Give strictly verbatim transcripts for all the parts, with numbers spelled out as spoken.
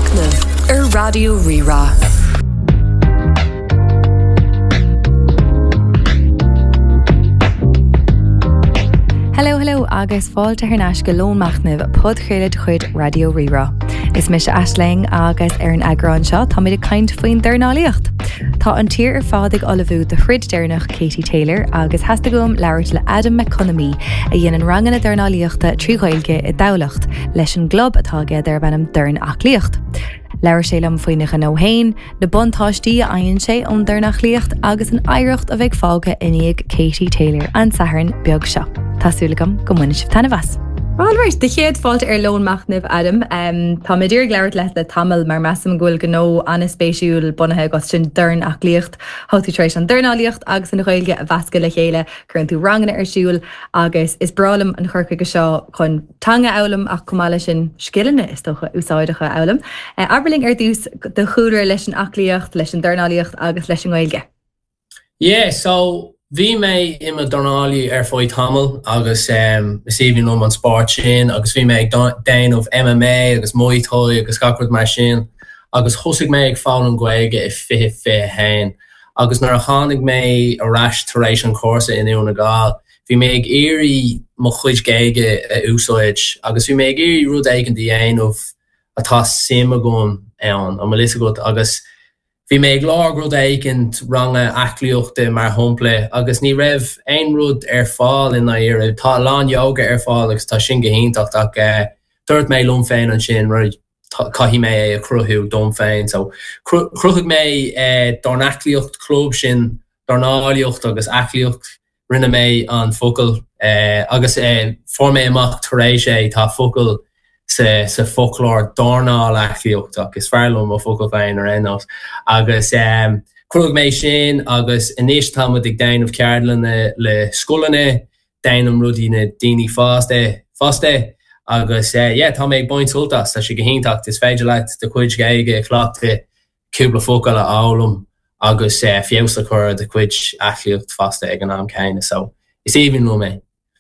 Machnamh ar Raidió Rí-Rá. Hello hello agus fáilte thar n-ais go Lón Machnaimh podchraoladh de chuid Raidió Rí-Rá. Is mise Aisling agus ar an eagrán seo táimid ag caint faoin dornálaíocht. Tá an tír ar fad ag ullmhú do throid deireanach Katie Taylor agus theastaigh uaim labhairt le Adam McConomy a dhéanann ranganna dornálaíochta trí Ghaeilge i dTamhlacht leis an gclub atá aige darb ainm Dorn Aclaíocht. Labhair sé liom faoina ghnó féin, na buntáistí a fhaigheann sé ón dornálaíocht agus an oidhreacht a bheidh fágtha i ndiaidh Katie Taylor an Satharn beag seo. Tá súil agam go mbainfidh sibh taitneamh as. Alright, do chéad fáilte ar Lón Machnaimh Adam. Um, tá mé ag labhairt leat le tamall mar measaim go bhfuil gnó an-spéisiúil bunaithe agat sin Dorn Aclaíocht. Tá tú tar éis an dornálaíocht agus an Ghaeilge a mheascadh le chéile, cuireann tú ranganna ar siúl agus is breá liom an cur chuige seo chun teanga a fhoghlaim ach chomh maith leis sin scileanna is dócha úsáideacha a fhoghlaim. Uh, Abair linn ar dtús do chúlra leis an aclaíocht, leis an dornálaíocht agus leis an nGaeilge. Yeah, so bhí mé i mo dornálaí ar feadh tamall agus um, is aoibhinn liom an spórt sin agus bhí mé ag déanamh MMA agus Muay Thai agus gach rud mar sin agus thosaigh mé ag foghlaim Gaeilge i fiche fiche haon. agus nuair a tháinig mé ar ais tar éis an cúrsa in Dún na nGall, bhí mé ag iarraidh mo chuid Gaeilge a úsáid agus bhí mé ag iarraidh rud éigin a dhéanamh atá suim agam ann an bhfuil a fhios agat agus bhí mé ag lorg rud éigin ranga aclaíochta mar shampla agus ní raibh aon rud ar fáil in Éirinn tá lán yoga ar fáil agus tá sin go hiontach ach uh, dúirt mé liom féin ansin right caithfidh mé é a chruthú dom féin so chruthaigh mé eh, Dorn Aclaíocht club sin dornálaíocht agus aclaíocht rinne mé an focal eh, agus eh, fuair mé amach tar éis é tá focal sa, sa foclóir dornáil aclaíocht ach is fearr liom mo focal féin ar aon nós agus um, chruthaigh mé sin agus anois táimid ag déanamh ceardlanna le scoileanna déanaim rudaí na daoine fásta fosta agus uh, yeah, tá mé ag baint sult as tá sé go hiontach is féidir leat do chuid Gaeilge a chleachtadh cúpla focal a fhoghlaim agus uh, feabhas a chur do chuid aclaíocht fosta ag an am céanna so is aoibhinn liom é.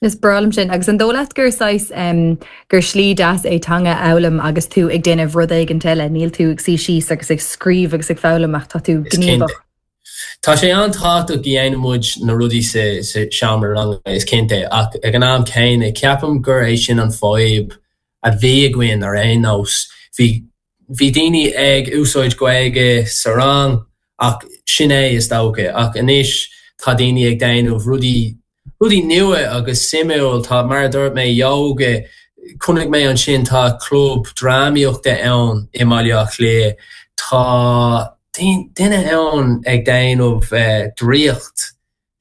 Is breá liom sin agus an dóigh leat gur saghas um, gur slí deas é teanga a fhoghlaim agus tú ag déanamh rud éigin eile, níl tú ag suí síos agus ag scríobh agus ag foghlaim ach tá tú gníomhach. Tá sé an-tábhachtach go ndéanann muid na rudaí sa sa seomra ranga is cinnte ach ag an am céanna ceapaim gur é sin an fhadhb a bhí againn ar aon nós. Bhí bhí daoine ag úsáid Gaeilge sa rang ach sin é is dócha ach anois tá daoine ag déanamh rudaí rudaí nua agus suimiúil tá mar a dúirt mé yoga chonaic mé ansin tá club drámaíochta ann i mBaile Átha Cliath tá duine ann ag déanamh uh, draíocht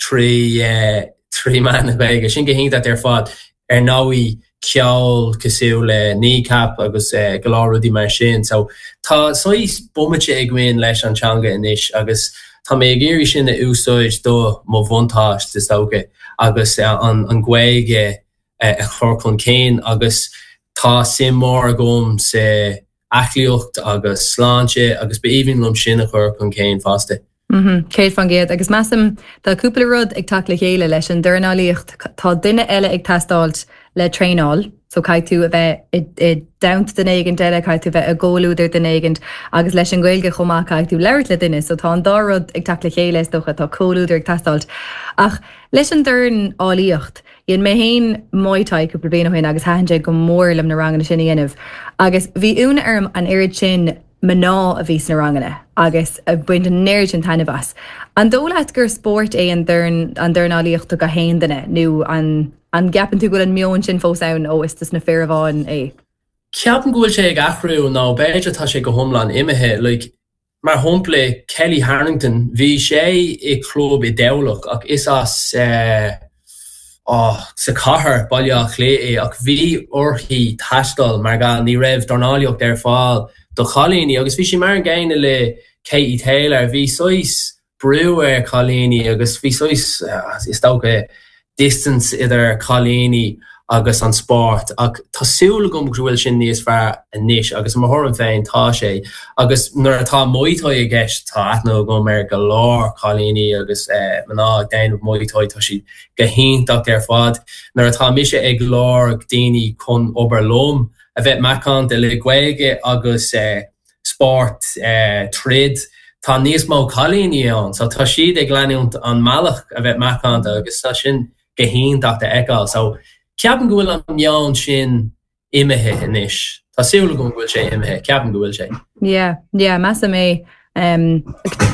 trí uh, trí mheán na Gaeilge sin go hiontach ar fad ar ndóigh ceol cosúil le Kneecap agus uh, go leor rudaí mar sin so tá saghas bomaite againn leis an teanga anois agus tá mé ag iarraidh sin a úsáid do mo bhuntáiste is dócha agus uh, an an Ghaeilge uh, a chur chun cinn agus tá suim mór agam sa aclaíocht agus sláinte agus b'aoibhinn liom sin a chur chun cinn fosta. Mm Céad faoin gcéad agus measaim tá cúpla rud ag teacht le chéile leis an dornálaíocht tá duine eile ag teastáil le traenáil, so caithfidh tú a bheith i dteannta duine éigin eile caithfidh tú bheith i gcomhluadar duine éigin agus leis an Ghaeilge chomh maith caithfidh tú labhairt le duine, so tá an dá rud ag teacht le chéile is dócha tá comhluadar ag teastáil. Ach leis an dornálaíocht, Dhein mé féin Muay Thai cúpla bliain ó shin agus thaitin sé go mór liom na ranganna sin a dhéanamh. Agus bhí ionadh orm an oiread sin mná a bhí sna ranganna agus a baint an oiread sin taitneamh as. An dóigh leat gur spórt é an dorn an dornálaíocht do gach aon duine nó an an gceapann tú go bhfuil an meon sin fós ann ó is dos na fir amháin é. Ceapaim go bhfuil sé ag athrú nó b'fhéidir tá sé go hiomlán imithe like, mar shampla Kelly Harrington bhí sé i club i dTamhlacht ach is as uh, oh, sa chathair Baile Átha Cliath é ach bhí uirthi taisteal mar gan ní raibh dornálaíocht ar fáil do chailíní agus bhí sí mar an gcéanna le Katie Taylor bhí saghas brú ar chailíní agus bhí saghas uh, is dócha distance idir cailíní agus an spórt ach tá súil agam go bhfuil sin níos fearr anois agus mar thuairim féin tá sé agus nuair atá Muay Thai i gceist tá aithne agam ar go leor cailíní agus eh, mná ag déanamh Muay Thai tá siad go hiontach ar fad nuair atá mise ag lorg daoine chun obair liom a bheith macánta le Gaeilge agus eh, spórt eh, troid tá níos mó cailíní ann, so tá siad ag leanúint an mbealach a bheith macánta agus tá sin go hiontach a fheiceáil. So ceapaim go bhfuil an meon sin imithe anois. Tá súil agam go bhfuil sé imithe, ceapaim go bhfuil sé. Yeah, yeah, measaim é um,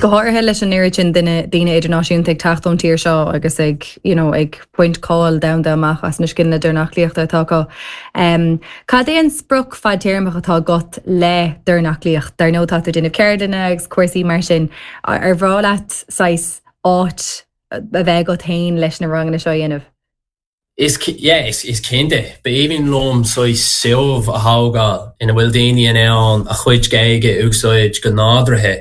go háirithe leis an oiread sin duine daoine idirnáisiúnta ag teacht ón tír seo agus ag you know, ag baint cáil domhanda amach as na scileanna dornálaíochta atá acu. Um, Cad é an sprioc fadtéarmach atá agat le dornálaíocht, Dar ndóigh tá tú ag déanamh ceardlanna agus cúrsaí mar sin ar bhreá leat saghas áit a bheith agat féin leis na ranganna seo a dhéanamh. Is yeah, is, is cinnte, b'aoibhinn liom saghas suíomh a thógáil ina bhfuil daoine in ann a chuid Gaeilge a úsáid go nádúrtha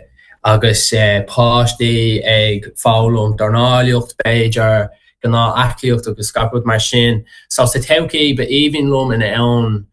agus eh, páistí ag foghlaim dornálaíocht b'fhéidir gnáth aclaíocht agus gach rud mar sin. So sa todhchaí b'aoibhinn liom in ann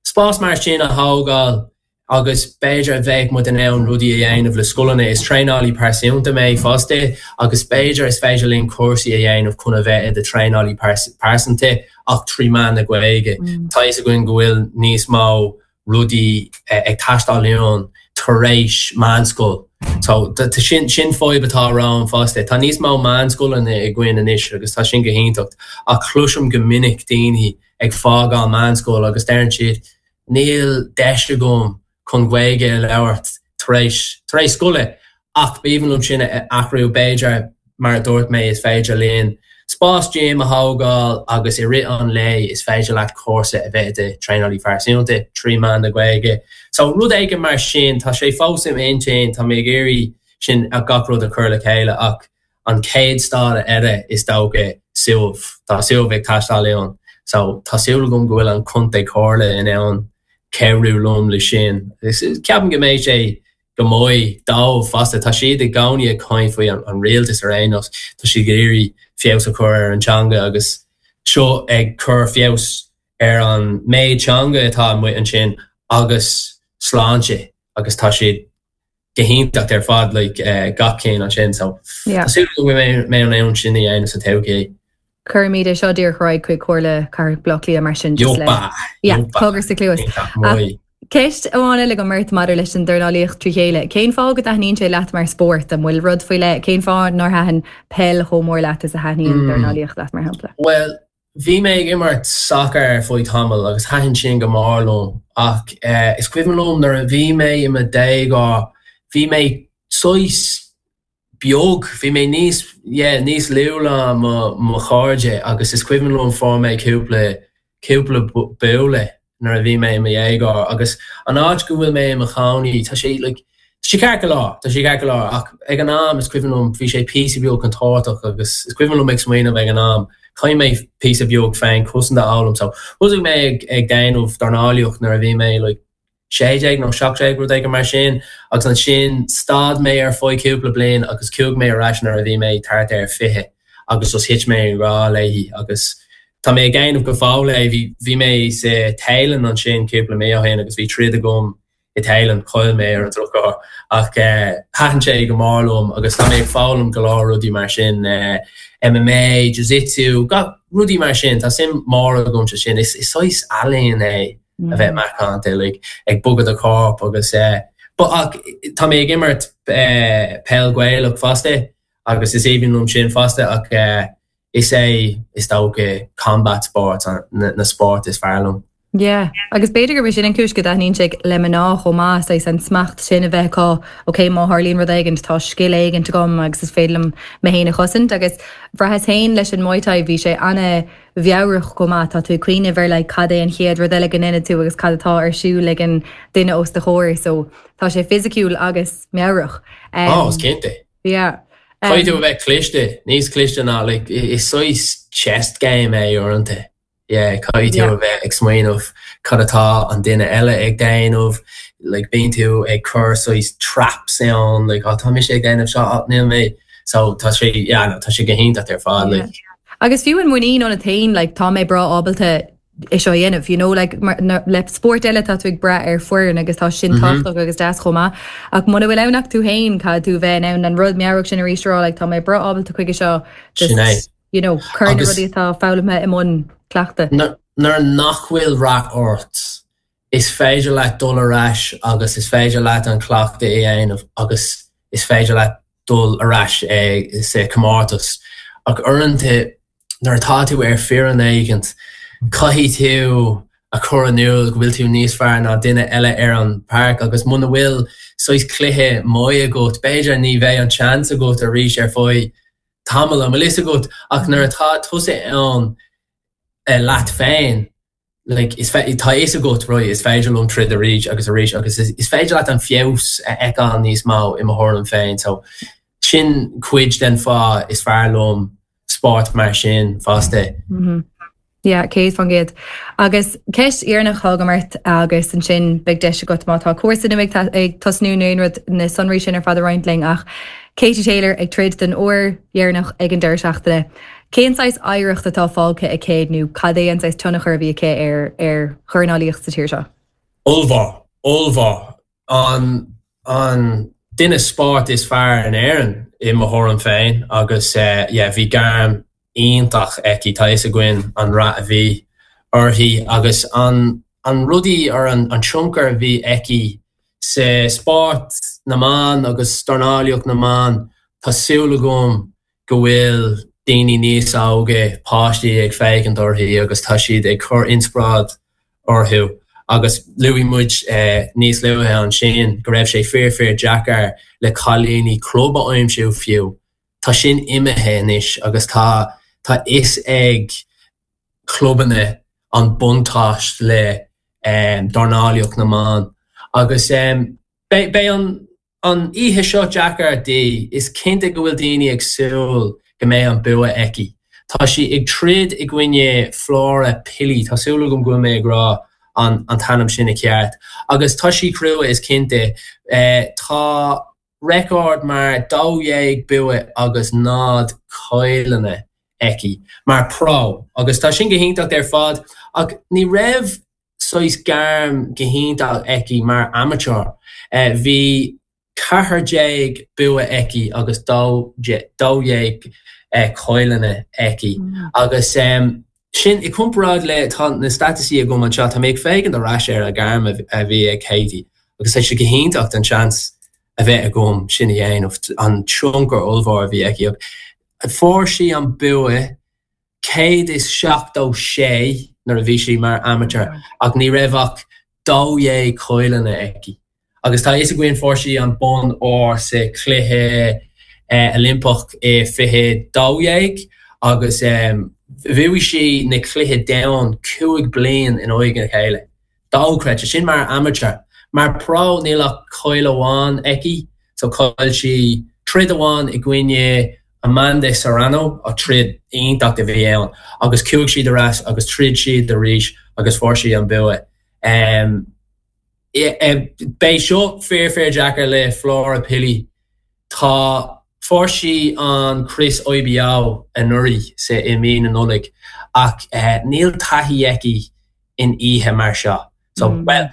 spás mar sin a thógáil agus b'fhéidir a bheith muid in ann rudaí a dhéanamh le scoileanna is traenálaí pearsanta mé fosta agus b'fhéidir is féidir linn cúrsaí a dhéanamh chun a bheith i do traenálaí pearsanta ach trí mheán na Gaeilge. Mm. Tá a fhios againn go bhfuil níos mó rudaí eh, ag teastáil uainn tar éis meánscoil. So sin sin fadhb atá ann fosta. Tá níos mó meánscoileanna againn anois agus tá sin go hiontach ach cloisim go minic daoine ag fágáil meánscoil agus deireann siad níl deis agam chun Gaeilge a labhairt tar éis tar éis scoile ach b'aoibhinn liom sin a athrú b'fhéidir mar a dúirt mé is féidir linn spás gym a thógáil agus i rith an lae is féidir leat cúrsa a bheith de traenálaí pearsanta trí mheán na Gaeilge. So rud éigin mar sin tá sé fós im intinn tá mé ag iarraidh sin a gach rud a chur le chéile ach an chéad stad eile is dócha suíomh Tá suíomh ag teastáil uainn. So tá súil agam go bhfuil an contae comhairle in ann cabhrú liom le sin. Ceapaim go mbeidh sé go maith dóibh fosta tá siad i gcónaí ag caint faoi an, an rialtas ar aon nós tá siad ag iarraidh feabhas a chur ar an teanga agus seo ag cur feabhas ar an méid teanga atá amuigh ansin agus sláinte agus tá siad go hiontach ar fad like, uh, gach céim ansin so Yeah. Tá go mé an ann sin a sa todhchaí. Cuirfimid é seo díreach ar aghaidh chuig Comhairle Cathrach Bhaile Átha Cliath mar sin just le- Jopa! Yeah, cogar sa chluas. Ceist amháin eile agam ort maidir leis an dornálaíocht trí chéile. Cén fáth go dtaitníonn sé leat mar spórt an bhfuil rud faoi leith, cén fáth nár thaitin peil chomh mór leat is a thaitníonn Mm. dornálaíocht leat mar shampla. Well, bhí mé ag imirt soccer ar feadh tamall agus thaitin sin go mór liom ach uh, is cuimhin liom nuair a bhí mé i mo dhéagóir bhí mé saghas beag bhí mé níos yeah, níos lú ná mo mo chairde agus is cuimhin liom fuair mé cúpla cúpla buille nuair a bhí mé i mo dhéagóir agus an áit go bhfuil mé i mo chónaí tá sé like, sé ceart go leor tá sé ceart go leor ach ag an am is cuimhin liom bhí sé píosa beag contúirteach agus is cuimhin liom ag smaoineamh ag an am Caithfidh mé píosa beag féinchosaint a fhoghlaim so thosaigh mé ag ag déanamh dornálaíocht nuair a bhí mé like, sé déag nó seacht déag rud éigin mar sin agus ansin stad mé ar feadh cúpla bliain agus chuaigh mé ar ais nuair a bhí mé thart ar fiche agus just thit mé i ngrá léi agus tá mé ag déanamh go fóill é bhí bhí mé sa Téalainn ansin cúpla mí ó shin agus bhí troid agam i Téalainn chaill mé ar an drochuair ach uh, thaitin sé go mór liom agus tá mé ag foghlaim go leor rudaí mar sin uh, MMA, Jiu-Jitsu, gach rudaí mar sin tá suim mór agam sa sin is is saghas ealaín é a bheith macánta like, ag bogadh do chorp agus uh, but ach tá mé ag imirt uh, peil Ghaelach fosta agus is aoibhinn liom sin fosta ach uh, is é is dócha combat sport an, na, na sport is fearr liom. Yeah, agus b'fhéidir gur sin an chúis go dtaitníonn sé le mná chomh maith é an smacht sin a bheith acu ok má tharlaíonn rud éigin tá scil éigin agam agus is féidir liom mé féin a chosaint agus bhraitheas féin leis an Muay Thai bhí sé an-mheabhrach chomh maith tá tú cuimhneamh ar le cad é an chéad rud eile go ndéanfaidh tú agus cad atá ar siúl ag an duine os do chomhair so tá sé fisiciúil agus meabhrach. Um, oh, is cinnte. Yeah. Caithfidh tú a bheith cliste, níos cliste ná like, is saghas chess game é uaireanta. Yeah, caithfidh tú Yeah. a bheith ag smaoineamh cad atá an duine eile ag déanamh, like, bíonn tú ag cur saghas traps ann, like, oh, tá mise ag déanamh seo ach níl mé. So tá sé yeah, no, tá sé go hiontach ar fad. Yeah. Like, Agus fiú an muinín ionat féin like, tá mé breá ábalta é seo a dhéanamh, you know, like, mar, na, le spórt eile tá tú ag brath ar foireann agus tá sin Mhm. tábhachtach agus deas chomh maith. Ach muna bhfuil ann ach tú féin caithfidh tú bheith in ann an rud meabhrach sin arís rá, like, tá mé breá ábalta chuige seo just, Sin é. you know, cur na Agus- rudaí atá foghlamtha i mbun cleachta. Nuair nuair nach bhfuil rath ort is féidir leat dul ar ais agus is féidir leat an cleachtadh a dhéanamh agus is féidir leat dul ar ais sa comórtas. Ach uaireanta nuair atá tú ar foireann éigin, caithfidh tú a chur in iúl go bhfuil tú níos fearr ná duine eile ar an páirc agus muna bhfuil saghas cluiche maith agat, b'fhéidir ní bheidh an seans agat arís ar feadh tamall an bhfuil fhios agat ach nuair atá tusa ann leat féin, like, is tá fhios agat right, is féidir liom troid arís agus arís agus is, is féidir leat an feabhas a fheiceáil níos mó i mo thuairim féin so sin cuid den fáth is fearr liom spórt mar sin fosta. Mm -hmm. Yeah, céad faoin gcéad. Agus ceist dheireanach agam ort agus ansin beidh deis agat má tá cúrsa nua ag tosnú nó aon rud na sonraí sin ar fad a roinnt linn ach Katie Taylor ag troid den uair dheireanach ag an deireadh seachtaine. Cén saghas oidhreacht atá fágtha aici nó cad é an saghas tionchar a bhí aici ar ar dhornálaíocht sa tír seo? Ollmhór, ollmhór an an duine spóirt is fearr in Éirinn i mo thuairim féin agus uh, yeah, bhí gairm iontach aici tá fhios againn an rath a bhí uirthi agus an an rudaí ar an, an tionchar a bhí aici sa spórt na mban agus dornálaíocht na mban Tá súil agam go bhfuil daoine níos óige páistí ag féachaint uirthi agus tá siad ag cur inspioráid orthu agus luaigh muid eh, níos luaithe ansin go raibh sé fíor fíor deacair le cailíní club a aimsiú fiú. Tá sin imithe anois agus tá tá fhios ag clubanna an buntáiste le um, dornálaíocht na mban agus um, beidh an an oíche seo deacair di is cinnte go bhfuil daoine ag súil go mbeidh an bua aici. Tá sí ag troid i gcoinne Flora Pili Tá súil agam go bhfuil mé ag rá an, an t-ainm sin i ceart. Agus tá sí crua is cinnte eh, tá record mar dó dhéag bua agus náid caillte aici mar pro agus tá sin go hiontach ar fad ach ní raibh saghas gairm go hiontach aici mar amateur. Uh, bhí ceathair déag bua aici agus dó dhéag uh, caillte aici mm. agus um, sin i gcomparáid le tá na staitisticí agam anseo tá mé ag féachaint ar ais ar a gairm a bhí ag Katie agus é sé go hiontach an seans a bheith agam sin a dhéanamh an tionchar ollmhór a bhí aici. Fuair sí an bua céad is seachtó sé nuair a bhí sí mar amateur ach ní raibh ach dó dhéag caillte aici. Agus tá fhios againn fuair sí an bonn óir sa chluiche eh, Oilimpeach i fiche dó dhéag agus um, bhuaigh sí na cluiche domhanda cúig bliain in aghaidh a chéile. Dochreidte sin mar amateur. Mar pro níl ach cailleadh amháin aici, so chaill sí troid amháin i gcoinne Amanda Serrano a troid iontach a bhí ann, agus chuaigh siad ar ais agus throid siad arís agus fuair sí an bua. Um, Beidh seo fíor fíor deacair le Flora Pili. Tá fuair sí an Crios IBO anuraidh sa i mí na Nollag ach uh, níl taithí aici in oíche mar seo. So mm. well,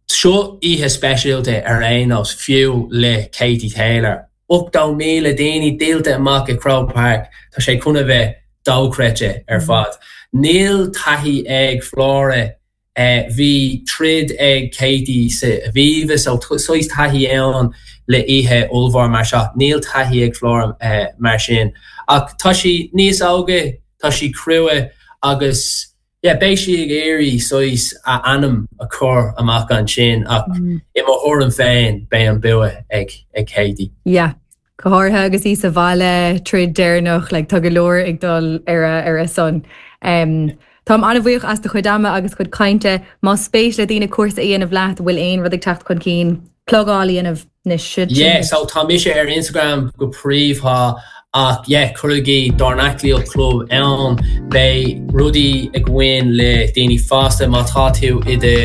seo oíche speisialta ar aon nós fiú le Katie Taylor. Ochtó míle daoine díolta amach i Croke Park Tá sé chun a bheith dochreidte ar mm. fad. Níl taithí ag Flora eh, bhí troid ag Katie sa Aviva so saghas taithí ann le oíche ollmhór mar seo níl taithí ag Flora eh, mar sin. Ach tá sí níos óige tá sí crua agus yeah, beidh sí ag iarraidh saghas a ainm a chur amach ansin ach mm. i mo thuairim féin beidh an bua ag ag Katie. Yeah. Go háirithe agus í sa bhaile troid deireanach le tá go leor ag dul ar a ar a son. Um, Táim an-bhuíoch as do chuid ama agus chuid cainte má spéis le daoine cúrsa a dhéanamh leat bhfuil aon rud ag teacht chun cinn plugáil a dhéanamh na si. Yeah, so tá mise ar Instagram go príomha ach yeah, cuirigí Dornaclaíocht Club ann beidh rudaí againn le daoine fásta má tá tú i do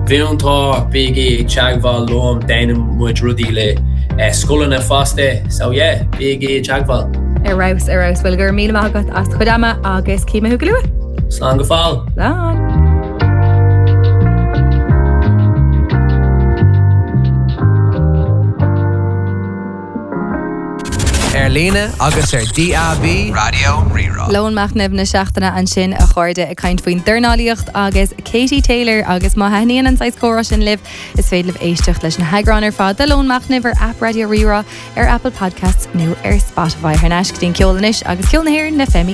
mhúinteoir bígí ag teagmháil liom déanann muid rudaí le eh, scoileanna fosta so yeah, bígí ag teagmháil. Ar fheabhas ar fheabhas bhuel go raibh míle maith agat as do chuid ama agus cífidh mé thú go luath. Slán go fóill. Slán. Ar Ar líne agus ar DAB Raidió Rí-Rá. Lón Machnaimh na seachtaine ansin a chairde ag caint faoin dornálaíocht agus Katie Taylor agus má thaitníonn an saghas comhrá sin libh is féidir libh éisteacht leis na heagráin ar fad de Lón Machnaimh ar app Raidió Rí-Rá ar Apple Podcasts nó ar Spotify thar n-ais go dtí an ceol anois agus ceol na hÉireann le Femi